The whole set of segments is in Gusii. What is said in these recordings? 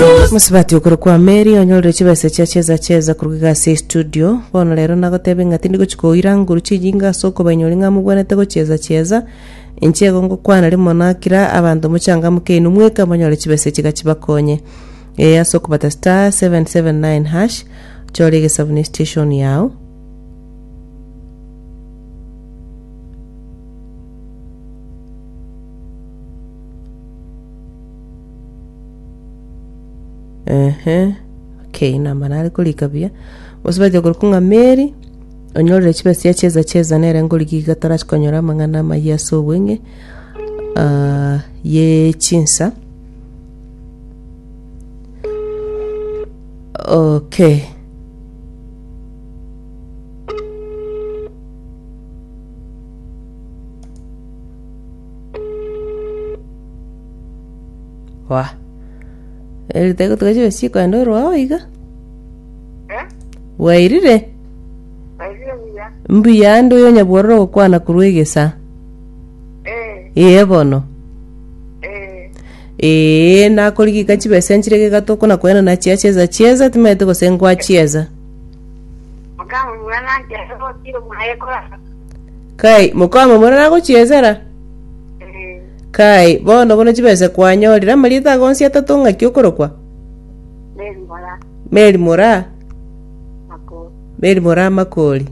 Mosubati okorokwa Mary onyorire chibesa chia cheza cheza korwa iga ase estudio. Bono rero nagotebia ng'a tindi gochia koira nguru chinyinga ase okobainyori ng'a mobwenerete gochieza chieza. Inche igo ngokwana rimo na kira abanto mochangamoke inwe mweka monyore chibesa echi iga chibakonye. Ee ase okobata star 779 hash chore egesabu ne station yao. Ehe, okay, namba nare korika buya. Mosubati okorokwa ng'a Mary, onyorire chibesa chia cheza cheza nere ngorigia iga tarachi konyora amang'ana amayia ase obweng'e ah, ye chinsa. Okay. Wah. Eri tegotuka chibe chikoenda orwao iga. Eh? Bwairire? Bwairire buya. Mbuya ande oyo nyabwororo ogokwana korwa egesa. Eh, Ee bono. eh. Ee, nakorigika chibesa nchire gegatoko na koenana chia cheza chieza timaete gose ngwachieza. Mokamomura nanche gotira mwaye korara. Kai, mokamomura nagochiezera? Eh, Kai, bono bono chibesa kwanyorire amarieta ago onsi atato ng'aki okorokwa? Mary Moraa Mary Moraa? Makori. Mary Moraa Makori.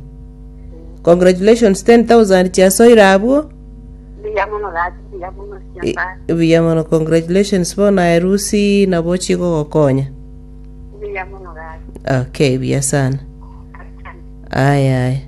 Congratulations 10,000 chiasoire abwo. Mbuya mono gaki, mbuya mono Nyasae. Buya mono congratulations bono aye Lucy nabo chigogokonya. Mbuya mono gaki. Okay, buya sana. Asante. Aya aya.